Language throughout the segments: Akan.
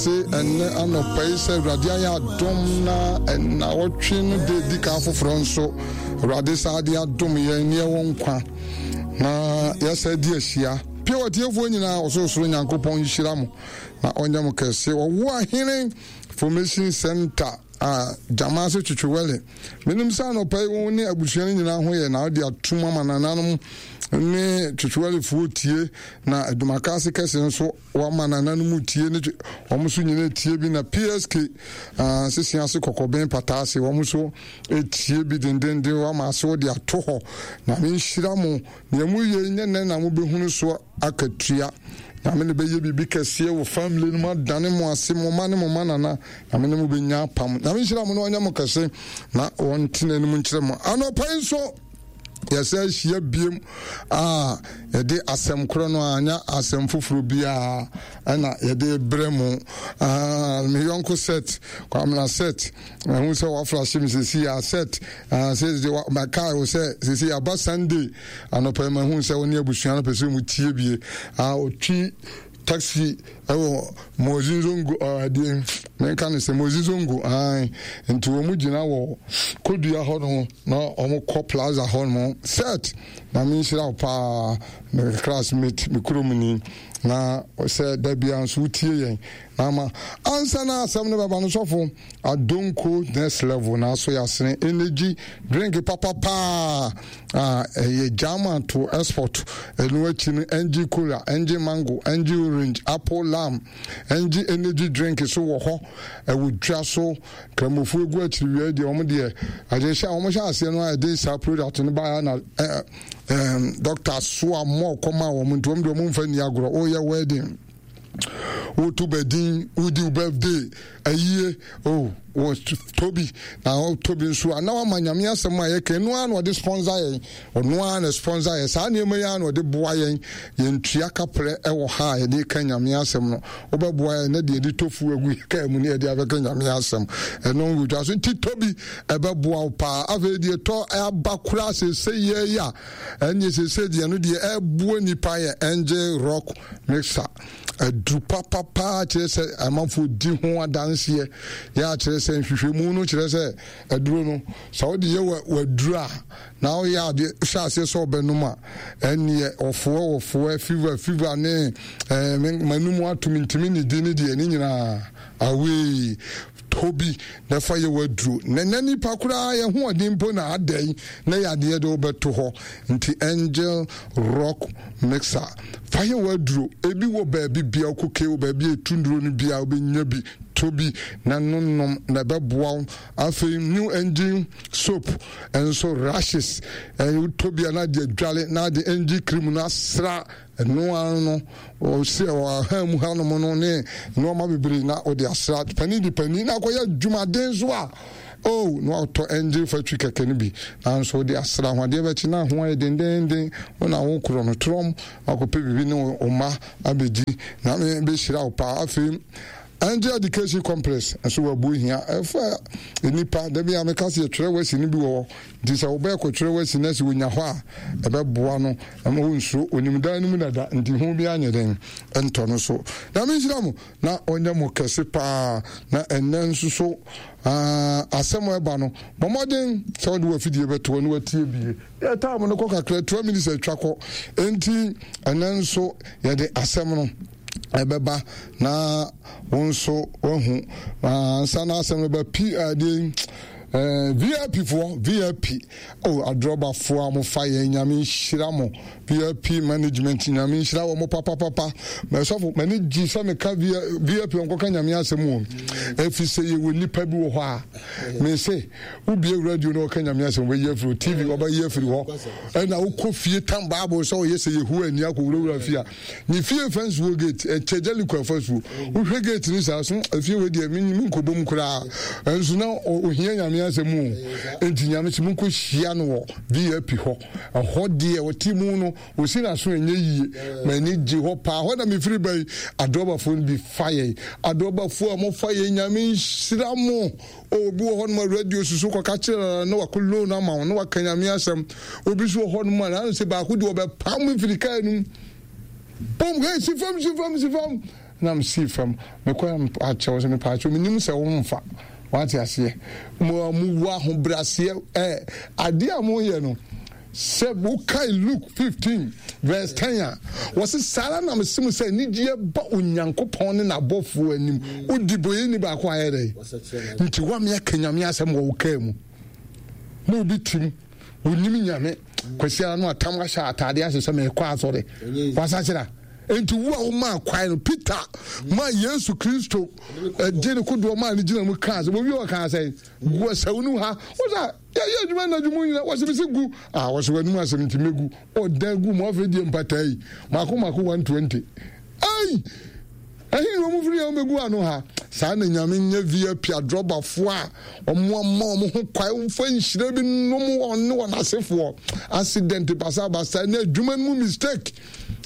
Se ɛnnɛ anɔpa yi sɛ Awurade ayɛ adom na nnawɔtwe no de di kan foforɔ nso Awurade saa de adom yɛn ne ɛwɔ nkwa na yɛsɛ di ahyia. Pie ɔtiefoɔ nyinaa ɔsorosoro Nyankopɔn nhyira mo na ɔnyɛ mo kɛse. Ɔwo ahene Formation Center a gyama ase twetwewɛle. Menim sɛ anɔpa yi wo ne abusua no nyinaa ho yɛ na wode atom ama nananom ne twetwewɛlefoɔ tie na adwumaka ase kɛse nso Wama nananom tie ne wɔn nso nyina tie bi na PSK uh, sisi ase kɔkɔben pata ase wɔn nso tie bi dendenden wama ase wɔde ato hɔ na menhyira mo nea mo yɛ nyɛ nɛ na mobɛhunu so akatua. Nyame ne bɛyɛ biribi kɛseɛ wɔ family no mu adane mo ase mo ma ne mo ma nana Nyame ne mo bɛnya apam. Nyame nhyira mo na ɔnyɛ mo kɛse na ɔntena anim nkyerɛ mo anɔpa yi nso. Yɛsɛ ahyia biem a yɛde asɛm korɔ no anya asɛm foforɔ biara ɛna yɛde brɛ mu. Me yɔnko set Kwamina set ɛho sɛ waflashe me sɛsi a set sɛ mɛkae wo sɛ sɛsi aba Sunday anɔpa yi mahu sɛ wo ne abusua no pɛ sɛ mu tie bie. Ɔtwi taxi ɛwɔ Mozi Zongo ɛdeɛ menka no sɛ Mozi Zongo ae nti wɔn gyina wɔ Kodua hɔ no na wɔn kɔ plaza hɔ no set na menhyira wo paa me classmate me kurom ni na sɛ da bia nso wotie yɛn na ama ansa na asɛm no bɛba no sɔfo Adonko next level na aso yɛasene energy drink papa paa a ɛyɛ German to export ɛno akyi no NG cola, NG mango, NG orange, apple lime, NG energy drink so wɔ hɔ ɛwɔ dwa so. Kramofoɔ egu akyiri wia deɛ wɔn deɛ adeɛ hyɛ wɔn hyɛ aseɛ no a ɛde saa product no baeɛ na ɛɛ ɛɛ doctor so a mɔ kɔma wɔn nti wɔn deɛ wɔn mfa nni agorɔ wɔyɛ wedding woto bɛdin wodi wo birthday ayie oh wɔ tobi na tobi nso a na wama nyame asɛm a yɛka ɛno ara na ɔde sponsor yɛn ɔno ara na sponsor yɛn saa nneɛma yi ara na ɔde boa yɛn yɛntua kaprɛ ɛwɔ ha a yɛde ka nyame asɛm no wobɛboa yɛn na deɛ yɛde tofu agu yɛ kaa mu ne yɛde abɛka nyame asɛm ɛno wotwa so nti tobi ɛbɛboa wo paa afei deɛ tɔ aba koraa sese yɛ yi a ɛneɛ sese deɛ no deɛ ɛboa nipa yɛ angel rock mixer aduru papapaa kyerɛ sɛ amanfoɔ di ho adanseɛ yɛ akyerɛ sɛ nhwehwɛmu no kyerɛ sɛ aduro no sɛ wode yɛ waduru a na woyɛ adeɛ hyɛ aseɛ sɛ ɔbɛnom a ɛneɛ ɔfoɛ ɔfoɛ fever fever ne ɛɛ manum atom ntumi ne di ne deɛ ne nyinaa awei tɔ bi na fa yɛ w'aduro na na nipa koraa yɛ hoɔden mpo na adɛn na yɛ adeɛ de wobɛto hɔ nti angel rock mixer fa yɛ w'aduro ebi wɔ baabi bia wokɔ wɔ baabi a ɛtu nduro no bia wobɛnya bi tɔ bi na nonom na ɛbɛboa wo afei new engine soap nso rashes wotɔ bi a na de adwale na de engine cream no asra Ɛno ara no, ɔsɛ ɔha mu hanom no ne nneɛma bebree na ɔde asra panin de panin na akɔyɛ adwumaden so a oh na ɔtɔ engine factory kɛkɛ no bi nanso ɔde asra ho adeɛ bɛkye na ho ayɛ dendenden wo na wo korɔ no trɔm akɔpɛ biribi ne wo mma abɛdi na bɛhyira wo paa afei Angel Education Complex nso wɔ Abuo-Hia. Ɛfa nnipa, da bi a meka sɛ yɛtwerɛ wasi no bi wɔ hɔ. Nti sɛ wobɛɛ kɔtwerɛ wasi na sɛ wɔnya hɔ a, ɛbɛboa no ma wɔnsuro. Ɔnim dan no mu dada, nti ho biara nyɛ dɛn ntɔ no so. Nyame nhyira mo na ɔnyɛ mo kɛse paa. Na ɛnnɛ nso so asɛm a ɛba no, bɔ mmɔden sɛ wode w'afidie bɛto hɔ na watie bie. Yɛ time no kɔ kakra, 12 minutes atwa kɔ. Enti ɛnnɛ nso yɛde asɛm no ɛbɛba na wo nso wahu ansa na asɛm no ba pi adeɛ eh, vip foɔ vip oh adrɔbafoɔ a mofa yɛn nyame nhyira mo vip management nyame nhyira wɔ mo papapapa mɛsɔfo m'ani gye sɛ meka vip ɔnkɔka nyame asɛm wɔ ɛfiri sɛ yɛwɔ nnipa bi wɔ hɔ a mese wobie radio na ɔka nyame asɛm wɔbɛyi afiri tv wɔbɛyi afiri hɔ ɛna wokɔ fie tam bible sɛ ɔyɛ sɛ yehowa ani akɔwurawura fie a Ne fie fa nsuo gate ɛkyɛ Jericho afasuo wohwɛ gate no saa so efie wei deɛ menkɔbɔ mu koraa ɛnso na ohia nyame asɛm o enti nyame sɛ monkɔ hyia no wɔ VIP hɔ ɛhɔ deɛ ɔte mu no ɔsi n'aso ɛnyɛ yie m'ani gye hɔ paa hɔ na mefiri ba yi adɔbafoɔ no bi fa yɛn adɔbafoɔ a mofa yɛn nyame nhyira mo Obi wɔ hɔnom a radio susu kɔka kyerɛ no na wakɔ loan ama wo na waka nyame asɛm. Obi nso wɔ hɔnom a n'ano sɛ baako de ɔbɛpam mfiri kaa no mu. Pom, hey, si fam, si fam, si fam. Na mesii fam. Mekɔɛ mepakyɛw sɛ mepakyɛw menim sɛ womfa. Wate aseɛ? Mo a mowɔ ahobrɛaseɛ ɛ adeɛ a moyɛ no sɛ wokae Luke 15 verse 10 a wɔse saa ara na mese mo sɛ anigyeɛ ba Onyankopɔn ne n'abɔfoɔ anim wodi bɔyɛni baako ayɛ dɛn nti woame aka Nyame asɛm wɔ wo kaa mu na obi tim wonim Nyame kwasi ara no atam ahyɛ ataadeɛ ahyɛ sɛ mekɔ asɔre wasakyera Enti wo a womaa kwae no, Peter maa Yesu Kristo gye ne kodoɔ maa ne gyina mu kaa sɛ, wɔwie ɔkaa sɛ, gu asawu no ha. Wɔsɛ, yɛyɛ adwuma anadwo mu nyina, wɔsɛ mesi gu. Ah, wɔsɛ w'anim asɛm nti mɛgu. Ɔdan gu mu, afei deɛ mpataa yi, mako mako 120. Ei! Ɛhe na wɔn firi a wɔbɛgu ano ha? Saa na Nyame nyɛ VIP adrɔbafoɔ a wɔn ama wɔn ho kwae mfa nhyira bi nom wɔn ne wɔn asefoɔ. Accident basabasa ne adwuma no mu mistake.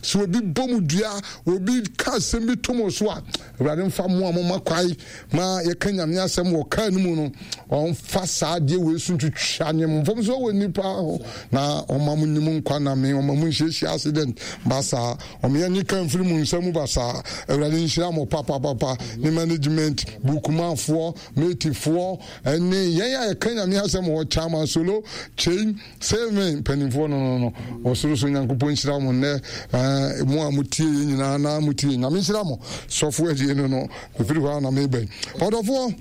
Sɛ obi bɔ mo dua, obi ka asɛm bi to mo so a, Awurade mfa mo a moma kwae ma yɛka Nyame asɛm wɔ kaa no mu no, ɔmfa saa adeɛ wei so ntwitwa ne mfomsoɔ wɔ nnipa ho na ɔma mo nim nkwa na me ɔma mo nhyiahyia accident basaa, ɔma yɛnye ka mfiri mo nsa mu basaa. Awurade nhyira mo papapapa ne management, bukumafoɔ, matefoɔ, ɛne yɛn a yɛka Nyame asɛm wɔ Chairman Solo, Kyei, Sɛ me mpanimfoɔ no no no, ɔsoro so Nyankopɔn nhyira mo nnɛ, eh, mo a motie yɛ nyinaa na motie. Nyame nhyira mo. Sɔfo adie no no, mefiri hɔ a na mebɛn. Ɔdɔfoɔ,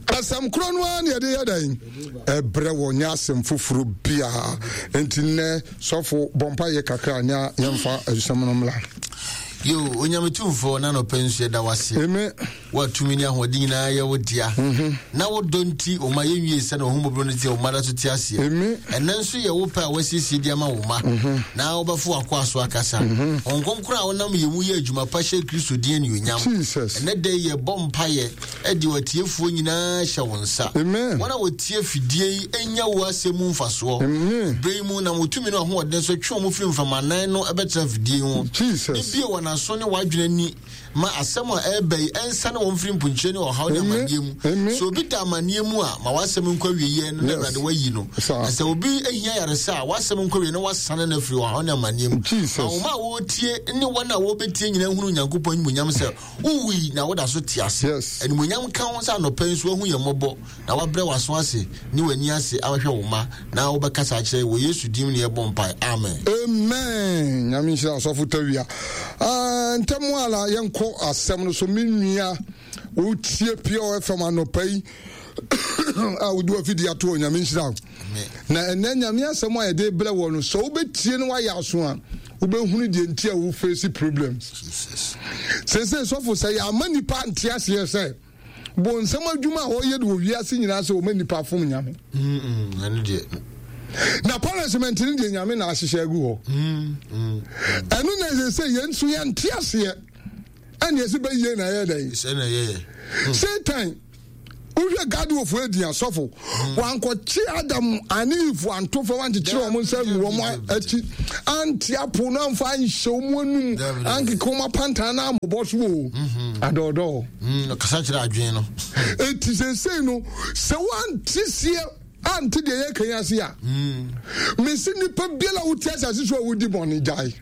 asɛm korɔ no ara ne yɛde yɛ dɛn? Ɛbrɛ wɔ nyɛ asɛm foforɔ biara. Enti nnɛ, sɔfo, bɔ mpa yɛ kakra nya yɛmfa asɛm no mmla. Yo, Onyame Tumfoɔ, na nɔpɛ nso yɛda wase. Amen. Wo a tumi ne ahoɔden nyinaa yɛ wo dea, na wo dɔ nti wo mma yɛnwiee sɛnea w'ahummɔborɔ no teɛ, wo mma da so te aseɛ. Ɛnnɛ nso yɛ wo pɛ a woasiesie de ama wo mma, na wobɛfo w'akoa so akasa. Honhom Kronkron a wonam yɛn mu yɛ adwuma pa hyɛ Kristo din anuonyam. Ɛnnɛ da yi yɛbɔ mpaeɛ de w'atiefoɔ nyinaa hyɛ wo nsa. Wɔn a wɔtie afidie yi nya wo asɛm mu mfasoɔ. Berɛ yi mu, nam wo tumi ne w'ahoɔden so twe wɔn firi mframanan no bɛtena afidie yi ho, ne bue wɔn aso ne w'adwene ani Ma asɛm a ɛreba yi nsiane wɔn mfiri mponkyerɛ ne ɔhaw ne amanneɛ mu. Sɛ obi da amanneɛ mu a, ma w'asɛm nkɔ awieeɛ no na Awurade wayi no. Na sɛ obi hia ayaresa a, w'asɛm nkɔ awieeɛ na wasane no afiri ɔhaw ne amanneɛ mu. Ma wo mma a wɔretie ne wɔn a wɔrebɛtie nyinaa nhunu Onyankopɔn animuonyam sɛ wowui na woda so te ase. Animuonyam nka wo sɛ anɔpa yi nso woahu yɛn mmɔbɔ na woabrɛ w'aso ase ne w'ani ase ahwɛ wo mma na wobɛkasa akyerɛ yɛn. Wɔ Yesu din mu na yɛbɔ mpae. Amen. Amen. Nyame nhyira Ɔsɔfo Tawia. Ah, ntɛm ara yɛnkɔ asɛm no so. Me nua, wotie Pure FM anɔpa yi a wode wafidi ato hɔ, Nyame nhyira wo. Na ɛnɛ Nyame asɛm a yɛde brɛ wɔ no, sɛ wobɛtie no wayɛ aso a, wobɛhunu deɛ nti a wo face problems. Seesei sɔfo, sɛ yɛama nipa nte aseɛ sɛ bonsam adwuma a ɔyɛ de wɔ wiase nyinaa sɛ ɔma nipa fom Nyame. Na punishment no deɛ Nyame na ahyehyɛ agu hɔ. Ɛno na ɛsɛ sɛ yɛn nso yɛnte aseɛ ɛne ɛsɛ bɛyie na ɛyɛ dɛn. Satan wohwɛ gadwofo adi asɔfo wankɔkye Adam ane Eve anto fam ankyekyere wɔn nsa ngu wɔn akyi ante apo no amfa anhyɛ wɔn anum ankeka wɔn apantan na amobɔ so o adɔɔdɔɔ. Kasa kyerɛ adwene no. Eti seesei no sɛ wante seɛ ante deɛ yɛka yi ase a mesi nipa biara a wote asase so a wodi bɔne gyae.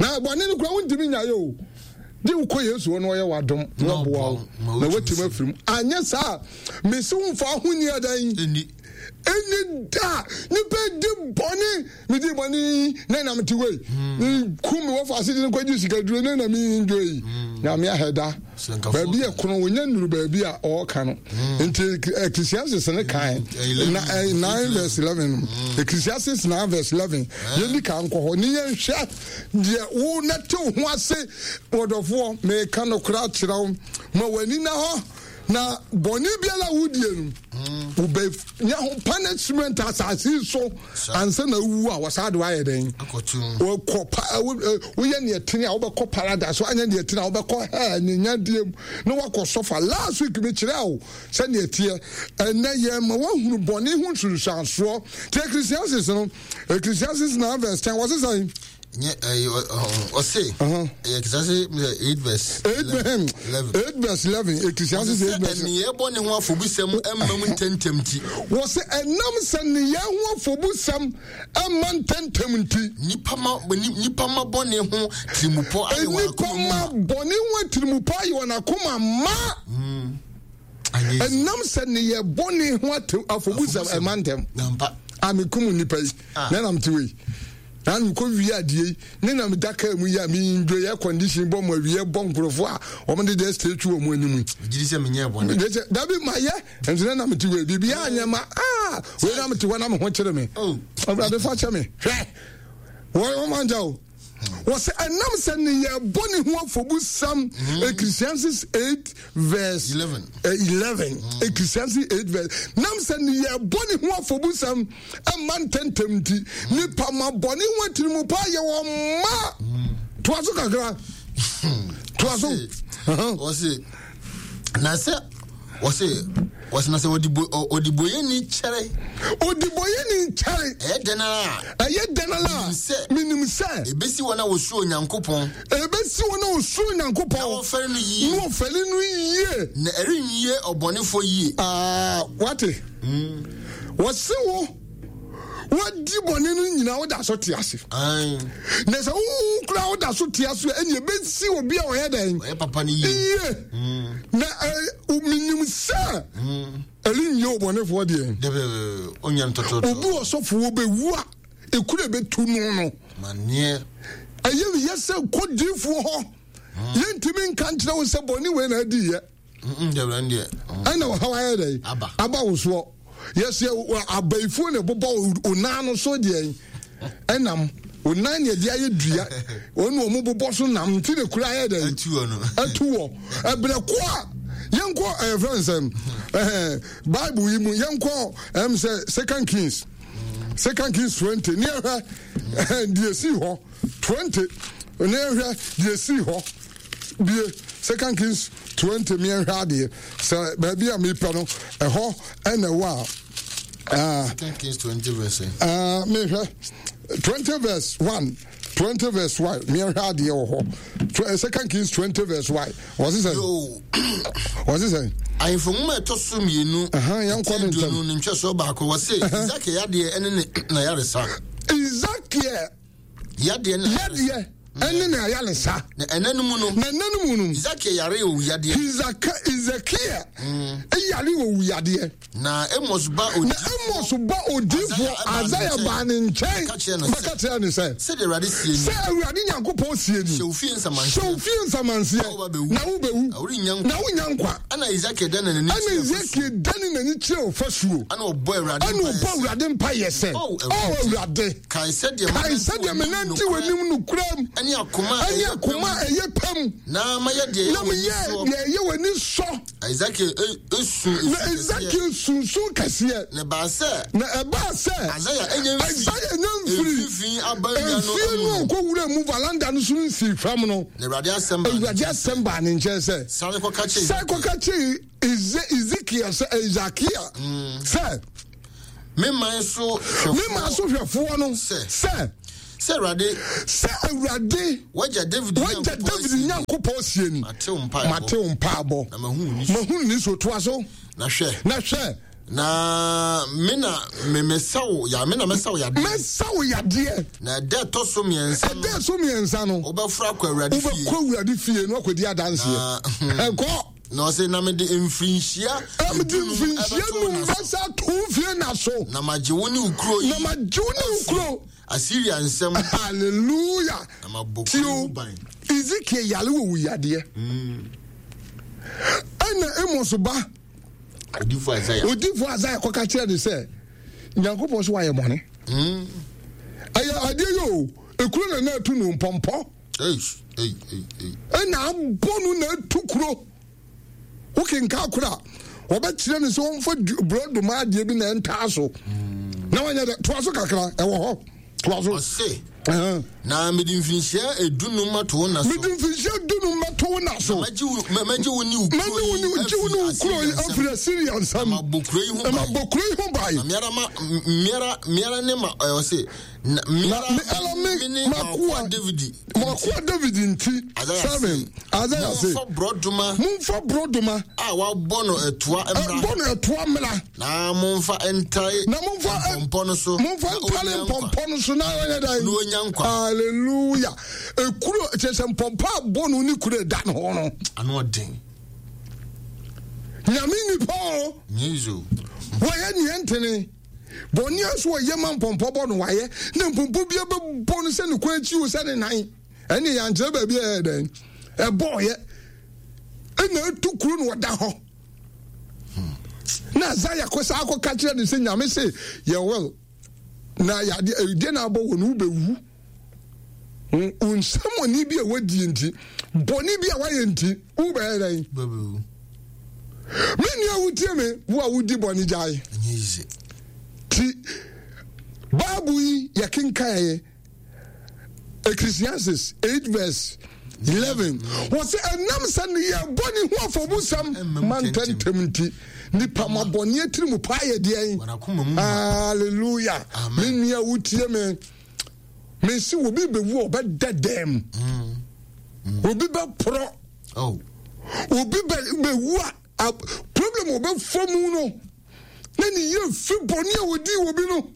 Na bɔne no kora wontumi nyaeɛ o. Gye wokɔ Yesu hɔ na ɔyɛ w'adom na ɔboa wo na woatumi afiri mu. Anyɛ saa a, mese wo mfa ho nni adan. Ɛnni da. Nipa di bɔne. Medi bɔne na na mete wei. Ku me wɔfa ase de no kɔgye sikaduro na na me enjoy yi. Nyame ahɛ da. Baabi yɛ kono wonya nnuru baabi a ɔɔka no. Nti Ecclesiastes ne kan 9 verse 11. Ecclesiastes 9 verse 11. Yɛndi kan nkɔ hɔ ne yɛnhwɛ Deɛ wo na te wo ho ase, ɔdɔfoɔ, meka nokorɛ akyerɛ wo, ma w'ani na hɔ, na bɔne biara a wodie no, wobɛnya ho punishment asase yi so ansa na wowu a wɔsaa de woayɛ dɛn? Wɔkɔ pa woyɛ neɛ tene a wobɛkɔ paradise, woanyɛ neɛ tene a wobɛkɔ hell ne nyadeɛ mu na woakɔ sɔfa. Last week mekyerɛ wo sɛdeɛ ɛteɛ. Ɛnɛ yɛn ma woahunu bɔne ho nsunsuansoɔ. Nti Ecclesiastes no, Ecclesiastes 9 verse 10 wɔse sɛn? Nyɛ ɛyɛ ɔse ɛyɛ Ecclesiastes 8 verse 11. 8 verse 11 Ecclesiastes 8 verse. Nneyɛɛ bɔne ho afɔbusɛm mma mu ntɛmntɛm nti. Wɔse ɛnam sɛ nneyɛɛ ho afɔbusɛm mma ntɛmntɛm nti. Nnipa ma nnipa ma bɔne ho tirimupɔ ayɛ wɔn akoma mu ma. Nnipa ma bɔne ho tirimupɔ ayɛ wɔn akoma ma. Ɛnam sɛ nneyɛɛ bɔne ho afɔbusɛm ɛma ntɛm. A mekum nnipa yi na nam te wei. Na mekɔ wie adeɛ yi ne na meda kaa mu yi a me enjoy air condition bɔ mu awie bɔ nkurɔfoɔ a wɔn de deɛ statue wɔn anim yi. Gyidi sɛ menyɛ bɔne. De sɛ dabi ma yɛ nso na nam te wei biribi anyɛ ma aa wei na mete hɔ na me ho kyerɛ me. Oh. Awurade fa kyɛ me hwɛ wɔn wɔn anja o. Wɔsɛ ɛnam sɛ ne yɛ bɔ ne ho afɔbusɛm Ecclesiastes 8 verse 11 11 Ecclesiastes 8 verse nam sɛ ne yɛ bɔ ne ho afɔbusɛm ɛmma ntɛntɛm nti nipa ma bɔne ho atirimu pa yɛ wɔn mma toa so kakra toa so. Wɔsi na sɛ wɔsi wɔsi na sɛ ɔdiboyɛni kyɛre. Ɔdiboyɛni kyɛre. Ɛyɛ dɛn ara a. Ɛyɛ dɛn ara a. Menim sɛ. Ebesi wɔn a wɔsuro Onyankopɔn. Ebesi wɔn a wɔsuro Onyankopɔn. Na wɔfɛre no yie. Na wɔfɛre no yie. Na ɛrenwie ɔbɔnefoɔ yie. Aa wate. Wɔse wo wadi bɔne no nyinaa woda so te ase. Na sɛ wowu koraa woda so te ase a ɛne ɛbɛsi obi a ɔyɛ dɛn? Ɔyɛ papa no yie. Yie. Na menim sɛ ɛrenyɛ ɔbɔnefoɔ deɛ. Obi ɔsɔfo wɔbɛwu a ekuro ɛbɛtu no no. Ɛyɛ yɛ sɛ kɔ diifoɔ hɔ. Yɛntumi nka nkyerɛ wo sɛ bɔne wei na adiiɛ. Ɛna ɔhaw ayɛ dɛ aba wo soɔ. Yɛsɛ abayifoɔ na ɛbobɔ wo nan no so deɛ ɛnam wo nan na ɛde ayɛ dua wɔn na wɔn bobɔ so nam nti na kura ayɛ dɛ atu wɔ ɛbrɛ ko a yɛnkɔ ɛyɛ fɛn sɛ ɛɛ bible yi mu yɛnkɔ ɛm sɛ second kings second kings 20 ne ɛhwɛ deɛ esi hɔ 20 ne ɛhwɛ deɛ esi hɔ. Bue Second Kings 20 meɛnhwɛ adeɛ sɛ baabi a mepɛ no ɛhɔ ɛna ɛwɔ a. Second Kings 20 verse. Mehwɛ 20 verse 1 20 verse 1 meɛnhwɛ adeɛ wɔ hɔ. Second Kings 20 verse 1 wɔse sɛ wɔse sɛ. Ahemfo nwoma ɛtɔ so mmienu. Yɛnkɔ ne ntɛm. Ne ntwɛsoɔ baako wɔse Ezekiel yadeɛ ɛne ne n'ayaresa. Ezekiel Yadeɛ ne yadeɛ ɛne ne ayaresa. Na ɛnɛ no mu no. Na ɛnɛ no mu no. Ezekiel yare owu yadeɛ. Ezekiel yare owu yadeɛ. Na Amos ba odiifoɔ. Na Amos ba odiifoɔ Isaiah baa ne nkyɛn. Bɛka kyerɛ ne sɛ. Sɛdeɛ Awurade sie ni. Sɛ Awurade Nyankopɔn sie ni. Hyɛ wo fie nsamanseɛ. Hyɛ wo fie nsamanseɛ. Na wobɛwu. Na worennya nkwa. Na wonnya nkwa. Ɛna Ezekiel dane n'ani kyerɛ ɔfasuo. Ɛna Ezekiel dane n'ani kyerɛ ɔfasuo. Ɛna ɔbɔ Awurade mpaeɛ sɛ. Ɛna ɔbɔ Awurade mpaeɛ sɛ. O Awurade. Kae sɛdeɛ Kae sɛdeɛ menante w'anim nokorɛm ɛne akoma a ɛyɛ pɛ mu, na mayɛ deɛ ɛyɛ w'ani sɔ. Ezekiel esu Na Ezekiel sunsun kɛseɛ. Na ɛbaa sɛ. Na ɛbaa sɛ. Isaiah enya mfiri. Isaiah enya mfiri. Mfimfini abannwa no Efie no ɔkɔ wura mu valanda no so nsii fam no. Na Awurade asɛm baa ne nkyɛn. Awurade asɛm baa ne nkyɛn sɛ. Sane kɔka kyerɛ. Sane kɔka kyerɛ Ezekiel sɛ Ezekiel sɛ. Me man so hwɛfoɔ. Me man so hwɛfoɔ no. Sɛ. Sɛ. Sɛ Awurade. Sɛ Awurade. Wagya David Wagya David Nyankopɔn sie ni. Mate wo mpaebɔ. Mate wo mpaebɔ. Na mahu wo nisu. Mahu ne so toa so. Na hwɛ. Na hwɛ. Na me na me mesa wo ya me na mesa wo yadeɛ. Mesa wo yadeɛ. Na ɛda ɛtɔ so mmiɛnsa no. Ɛda ɛso mmiɛnsa no. Wobɛforo akɔ Awurade fie. Wobɛkɔ Awurade fie na wakɔdi adanseɛ. Ɛkɔ. Na ɔse, na mede mfirinhyia Mede mfirinhyia num bɛsa ato wo fie nna so. Na magye wo ne wo kuro yi. Na magye wo ne wo kuro. Asiria nsam. Hallelujah. Na mabɔ kuro ho ban. Ezekiel yare wɔ wuyadeɛ. Ɛna Amos ba. Odifo Isaiah. Odifo Isaiah kɔka kyerɛ ne sɛ Nyankopɔn so wayɛ bɔne. Ɛyɛ adeɛ yi o, ekuro na na atu no mpɔmpɔ. Ɛna abɔ no na atu kuro. Wokenka koro a, wɔbɛkyerɛ no sɛ wɔmfa borɔdoma adeɛ bi na ɛntaa so. Na wanyɛ dɛ, toa so kakra, ɛwɔ hɔ. Toa so. Ɔse, Na mede mfirinhyia edunum ato wo nna so. Mede mfirinhyia dunum bɛto wo nna so. Mɛgye wo ne wo kuro yi afiri Asiria nsam. Na mabɔ kuro yi ho ban. Na mabɔ kuro yi ho ban. Na meara ma meara meara ne ma ɔyɛ ɔse. Na meara me ne makoa David. Makoa David nti. 7. Isaiah se. Momfa borɔdoma. Momfa borɔdoma. A wɔabɔ no ɛtoa mmra. Ɛbɔ no ɛtoa mmra. Na momfa ntare. Na momfa mpɔmpɔ no so. Momfa ntare mpɔmpɔ no so na ɔnyɛ dan. Na onya nkwa. Hallelujah. Ekuro kyerɛ sɛ mpɔmpɔ abɔ no ne kuro ɛda ne ho no. Ano ɔden. Nyame nipa o. Nyezo. Wɔyɛ neɛ ntene. Bɔnne nso wɔyɛ ma mpɔmpɔ bɔ no wayɛ na mpɔmpɔ bi bɛbɔ no sɛ ne kwan akyi o sɛ ne nan. Ɛne yɛankyerɛ baabi a ɛyɛ dɛn ɛbɔɔyɛ ɛna ɛtu kuro no ɔda hɔ. Na Isaiah kɔ saa akɔka kyerɛ no sɛ Nyame se yɛ well na yɛade ɛdeɛ na abɔ wɔ no wobɛwu wo nsɛmɔne bi a wadie nti bɔne bi a wayɛ nti wobɛyɛ dɛn? Me nua wotie me wo a wodi bɔne gyae ti Bible yi yɛkenkaeɛ Ecclesiastes 8 verse 11 wɔsɛ ɛnam sɛ ne yɛ bɔne ho afɔbusɛm ma ntɛntɛm nti nipa ma bɔne atiri mu paa yɛ deɛn? Hallelujah. Me nua wotie me mesi obi bɛwu a ɔbɛda dɛm mm. mm. Obi bɛporɔ oh. Obi bɛwu a problem ɔbɛfa mu no na ne yɛ fi bɔne a wɔdii wɔ bi no.